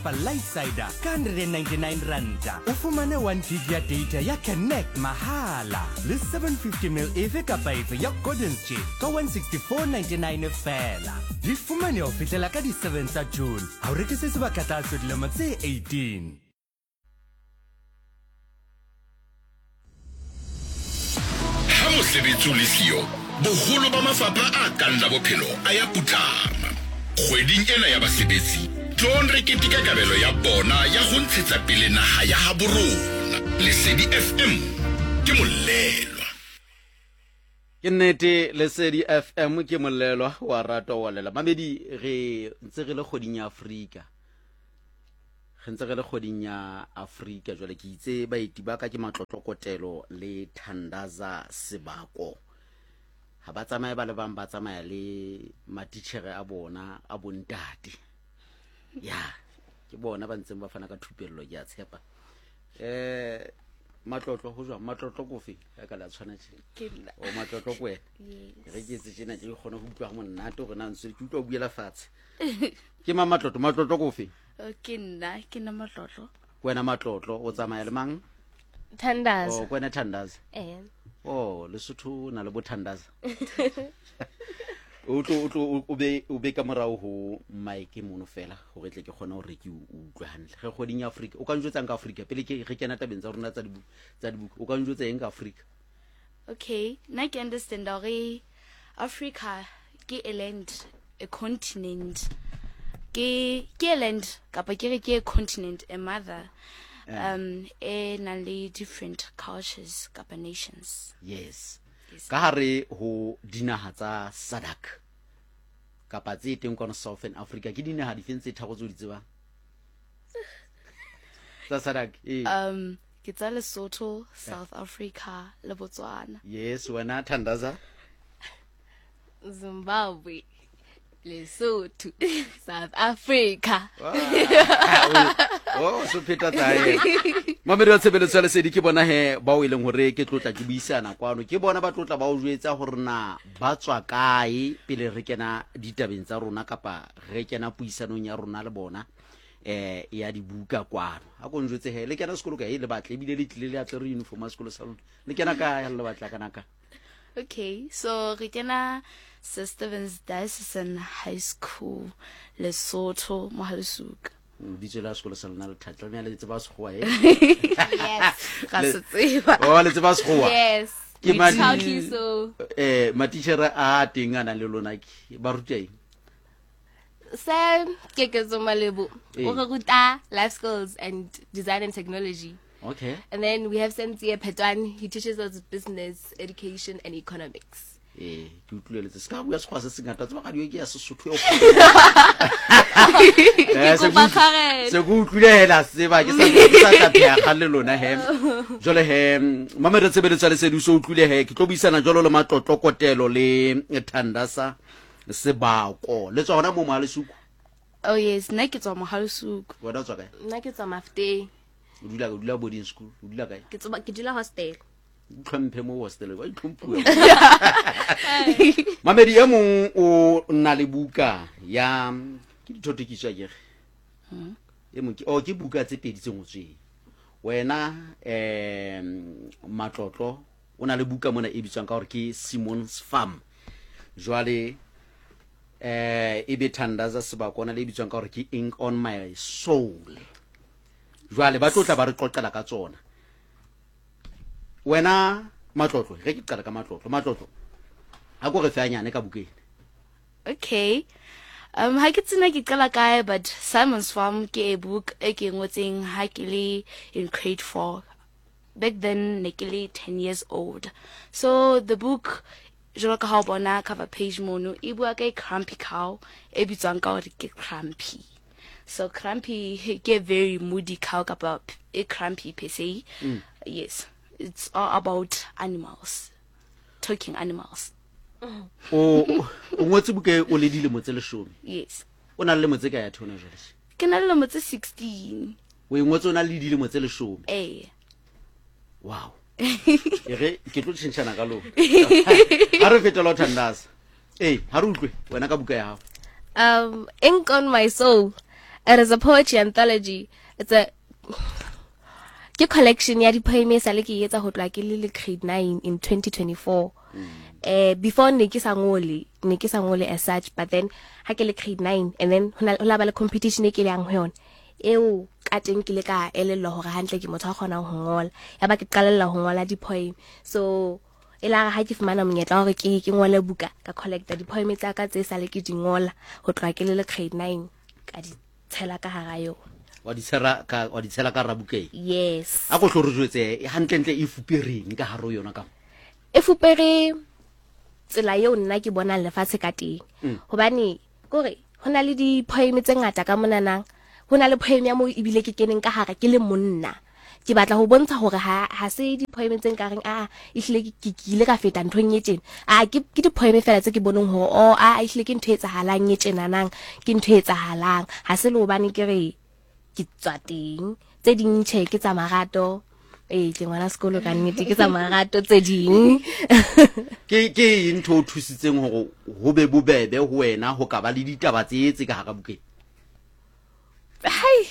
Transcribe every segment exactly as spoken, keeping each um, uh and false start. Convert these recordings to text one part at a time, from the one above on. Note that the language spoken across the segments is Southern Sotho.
Pa Lightside ka one hundred and ninety-nine ranta o fumane one gig ya data ya Connect mahala le seven fifty mil efe kapa efe ya Gordon's Gin ka one sixty-four ninety-nine fela. Di fumane ho fihlela ka di seven tsa June. Ha o rekise sebaka tlase dilemo tse eighteen. Ha mosebetsi o le siyo, boholo ba mafapha a kang la bophelo a ya putlama. Kgweding ena ya basebetsi, tloong re keteka kabelo ya bona ya ho ntshetsa pele naha ya habo rona. Lesedi F M ke molelwa. Ke nnete, Lesedi F M ke molelwa wa ratwa wa lela. Mamedi, re ntse re le kgweding ya Afrika. Re ntse re le kgweding ya Afrika jwale ke itse baeti ba ka ke Matlotlo Kotelo le Thandaza Sebako. Ha ba tsamaye ba le bang, ba tsamaya le matitjhere a bona a bontate. Ya, ke bona ba ntseng ba fana ka thupello, ke a tshepa. Eh, Matlotlo ho jwang? Matlotlo ko fe? Ya ka la tshwana tje. Ke nna. O Matlotlo ko wena? Yes. Re ke etse tjena ke kgone ho utlwa monate hore na ntse ke utlwa o buela fatshe. Ke mang Matlotlo? Matlotlo ko fe? O, ke nna, ke nna Matlotlo. Wena Matlotlo o tsamaya le mang? Thandaza. O, ke wena Thandaza. Eh. Oh, Lesotho na le bo Thandaza. O tlo, o tlo, o be, o be ka morao ho mic mono fela hore tle ke kgone hore ke o utlwe hantle. Re kgweding ya Afrika. O ka njwetsang ka Afrika pele ke re kena tabeng tsa rona tsa dibuka, tsa dibuka. O ka njwetsa eng ka Afrika? Okay, nna ke understand hore Africa ke a land, a continent. Ke, ke a land kapa ke re ke a continent, a mother. Eh. Um, e nang le different cultures kapa nations. Yes. Yes. Ka hare ho dinaha tsa SADC kapa tse teng kwano Southern Africa, ke dinaha difeng tse tharo tseo di tsebang? Tsa SADC, eh. Um, ke tsa Lesotho, South Africa le Botswana. Yes, wena Thandaza? Zimbabwe, Lesotho, South Africa. Wow. Oh, so pheta tsae. Mamedi wa tshebeletso ya Lesedi ke bona he bao e leng hore ke tlotla ke buisana kwano. Ke bona ba tlotla ba o jwetsa hore na ba tswa kae pele re kena ditabeng tsa rona kapa re kena puisanong ya rona le bona eh ya dibuka kwano. Ha ko njwetse he le kena sekolo kae le batle ebile le tlile le atle re uniform ya sekolo sa lona. Le kena kae le batla kana ka? Okay, so re kena Sir Stephen's Diocesan High School, Lesotho, Mohalesuka. Bitso la sekolo sa lona le thata, le le tseba Sekgowa, eh? Yes. Ga se tseba. Oh, le tseba Sekgowa? Yes. Ke We madi- proudly so. Eh, matitjhere a teng a nang le lona ke ba ruta eng? Sam Keketso Malebo. Eh. O re ruta life skills and design and technology. Okay. And then we have Sentie Petwan. He teaches us business, education and economics. Eh, ke utlwile letse. Se ka bua Sekgowa se sengata, tseba radio ke ya Sesotho eo. Eh, se Ke kopa ke utlw- tshwarelo. se ke utlwile hela tseba, ke sa, ke sa tla pheha kgang le lona he. Jwale he, mamedi tshebeletso ya Lesedi o so utlwile he, ke tlo buisana jwalo le Matlotlo Kotelo le Thandaza Sebako. Le tswa hona moo Mohalesuku? Oh yes, nna ke tswa Mohalesuku. Wena o tswa kae? Nna ke tswa Mafteng. O dula, o dula boarding school, o dula kae? Ke tswa, ke dula hostel. Itlhomphe mo hostel, wa itlhomphuwa. Mamedi e mong o na le buka ya ke dithotokiso akere? Hmm. E mong ke, oh, ke buka tse pedi tse ngotsweng. Wena, eh, Matlotlo o na le buka mona e bitswang ka hore ke Simon's Farm. Jwale, eh, e be Thandaza Sebako o na le e bitswang ka hore ke Ink on My Soul. Jwale ba tlo tla ba re qoqela ka tsona. Wena Matlotlo, re ke qala ka Matlotlo. Matlotlo, ha ko re fe hanyane ka bukeng. Okay. Um, ha ke tsena ke qala kae, but Simon's Farm ke a book e ke ngotseng ha ke le in grade four. Back then ne ke le ten years old. So the book, jwalo ka ha o bona cover page mono, e bua ka crumpy cow e bitswang ka hore ke Crumpy. So Crumpy ke a very moody cow kapa e crumpy per se. Mm. Yes. It's all about animals, talking animals. O, o, o ngotse buka e o le dilemo tse leshome? Yes. O na le lemo tse kae ya theona jwale? Ke na le lemo tse sixteen. O e ngotse o na le dilemo tse leshome? Ee. Wow. E re ke tlo tjhentjhana ka lona. Ha re fetela ho Thandaza. Ee, ha re utlwe wena ka buka ya hao. Um, Ink on My Soul. It is a poetry anthology. It's a ke collection ya di-poem e sale ke e etsa ho tloha ke le le grade nine in twenty twenty-four. Eh, before ne ke sa ngole, ne ke sa ngole as such, but then ha ke le grade nine and then ho na ho la ba le competition e ke le yang ho yona. Eo ka teng ke le ka elellwa hore hantle ke motho a kgonang ho ngola. Ya ba ke qalella ho ngola di-poem. So e la re ha ke fumana monyetla wa hore ke ke ngole buka, ka collecta di-poem tsa ka tse sale ke di ngola ho tloha ke le le grade nine, ka di tshela ka hara yona. Wa di tshela ka, wa di tshela ka hara bukeng? Yes. A ko hlo re jwetse hantlentle e fupereng ka hare ho yona ka mo? E fupere tsela eo nna ke bonang lefatshe ka teng. Mm. Hobane kore ho na le di-poem tse ngata ka monanang. Ho na le poem ya moo ebile ke keneng ka hare ke le monna. Ke batla ho bontsha hore ha, ha se di-poem tse nkareng, a, ehlile ke, ke, ke ile ka feta nthong e tjena. A, ke, ke di-poem feela tse ke boneng hore, oh, a, ehlile ke ntho e etsahalang e tjenanang, ke ntho e etsahalang. Ha se le hobane ke re ke tswa teng. Tse ding tjhe ke tsa marato. Ee, ke ngwana sekolo ka nnete, ke tsa marato tse ding. Ke, ke eng ntho o thusitseng hore ho be bobebe ho wena ho ka ba le ditaba tse tse ka hara bukeng? Hai,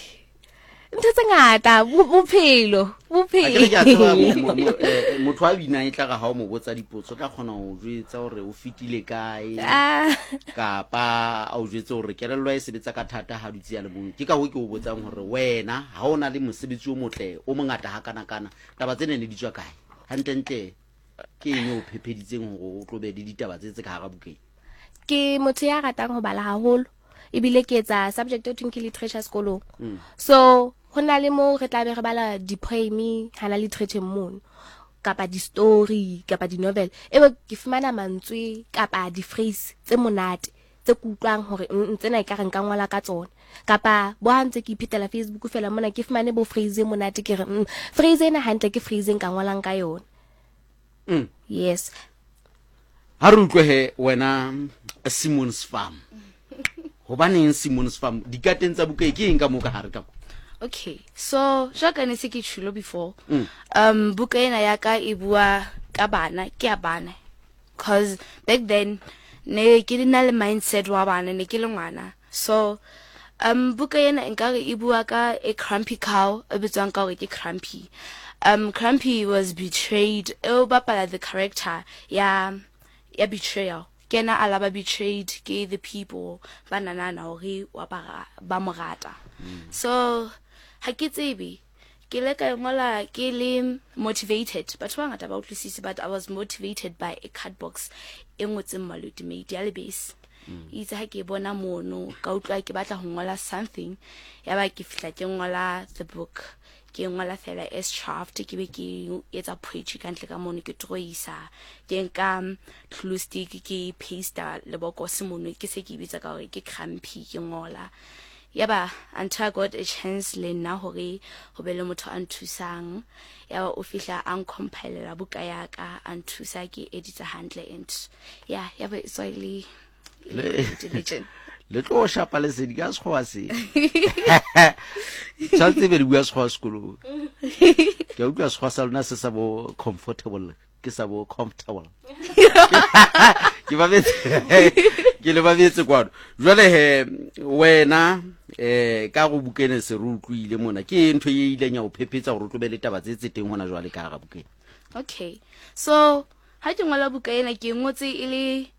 ntho tse ngata, bo-, bophelo, Ha ke re ke a tseba bophelo. mo-, mo-, eh, motho a binang e tla re ha o mo botsa dipotso, o tla kgona ho jwetsa hore o fetile kae, Ah. kapa a o jwetse hore kelello e sebetsa ka thata ha dutse ya le mong. Ke ka hoo ke o botsang hore wena ha o na le mosebetsi o motle o mongata hakanakana, taba tsena ne di tswa kae? Hantlentle ke eng e o phepheditseng hore o tlo be le ditaba tse tse ka hara bukeng? Ke motho ya ratang ho bala haholo, ebile ke etsa subject e thweng ke literature sekolong. Mm. So ho na le moo re tla be re bala di-poem hana literature mono, kapa di-story, kapa di-novel. Ebe ke fumana mantswe kapa di-phrase tse monate tse ke utlwang hore, mm, tsena ekare nka ngola ka tsona. Kapa bo ha ntse ke iphetela Facebook fela mona, ke fumane bo phrase e monate, ke re, mm, phrase ena hantle ke phrase e nka ngolang ka yona. Mm. Yes. Ha re utlwe he wena Simon's Farm. Hobaneng Simon's Farm? Dikateng tsa buka e ke eng ka moo ka hare ka mo? Okay, so jwalo ka ne se ke tjholo before, Mm. um, buka ena ya ka e bua ka bana, ke ya bana. 'Cause back then ne ke na le mindset wa bana, ne ke le ngwana. So um, buka ena nkare e bua ka a crumpy cow e bitswang ka hore ke Crumpy. Um, Crumpy was betrayed. E o bapala the character ya, ya betrayal. Ke yena a la ba betrayed ke the people ba nanana hore wa ba ra-, ba mo rata. Mm. So ha ke tsebe, ke ile ka ngola ke le motivated. Batho ba bangata ba utlwisise, but I was motivated by a card box e ngotseng Maluti Made ya lebese. Mm. Itse ha ke bona mono, ka utlwa ke batla ho ngola something, ya ba ke fihla ke ngola the book. Ke ngola fela as draft, ke be ke etsa poetry ka ntle ka mono, ke drawisa, ke nka glue stick ke paste lebokose mono, ke se ke bitsa ka hore ke crumpy, ke ngola. Ya ba until I got a chance le nna hore ho be le motho a nthusang, ya ba o fihla a ncompile buka ya ka, a nthusa ke edita hantle, and yeah, ya ba e tswa e le Le- diligent. Le tlo shapa lesedi ka sekgowa se. Tshwanetse be le bua sekgowa sekolong. Ke a utlwa sekgowa sa lona se sa bo comfortable, ke sa bo comfortable. Ke ba betse, ke le ba betse kwano. Jwale he wena, eh, ka go bukene se re utlwile mona, ke ntho e ileng ya o phephetsa hore o tlo be le taba tse tse teng hona jwale ka hara bukeng? Okay. So ha ke ngola buka ena, ke ngotse e le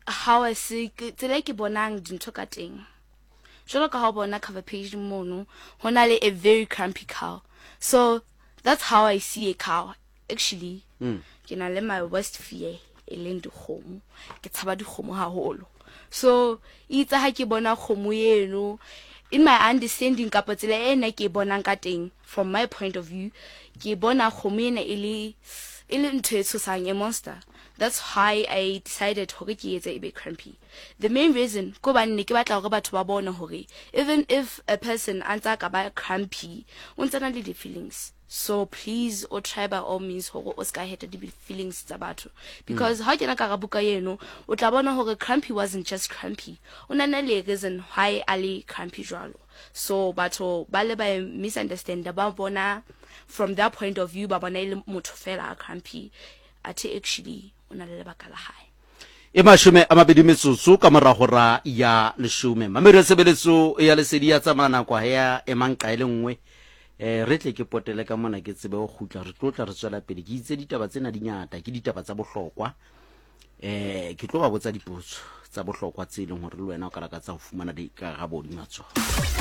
how I see, ke, tsela e ke bonang dintho ka teng. Jwalo ka ha o bona cover page mono, ho na le a very crumpy cow. So that's how I see a cow actually. Mm. Ke na le my worst fear e leng dikgomo. Ke tshaba dikgomo haholo. So itse ha ke bona kgomo eno, in my understanding kapa tsela e nna ke e bonang ka teng, from my point of view, ke bona kgomo ena e le, e le ntho e tshosang, a monster. That's why I decided hore ke etse e be crumpy. The main reason ko hobane ne ke batla hore batho ba bone hore even if a person a ntse a ka ba crumpy, o ntse a na le di-feelings. So please, o try by all means hore o ska hurt di-feelings tsa batho. Because Mm. ha o kena ka hara buka eno, o tla bona hore crumpy wasn't just crumpy. O na na le reason why a le crumpy jwalo. So batho ba le ba misunderstand, ba bona from their point of view, ba bona e le motho fela a crumpy. Athe actually o na le lebaka la hae. E mashome a mabedi metsotso ka morago ra ya leshome. Mamedi ya tshebeletso ya lesedi ya tsamaya nako ha ya emang qa e le nngwe. Eh re tle ke potele ka mona ke tsebe ho kgutla, re tlo tla re tswela pele. Ke itse ditaba tsena di ngata, ke ditaba tsa bohlokwa. Eh ke tlo ba botsa dipotso tsa bohlokwa tse leng hore le wena o ka lakatsa ho fumana dikarabo hodima tsona.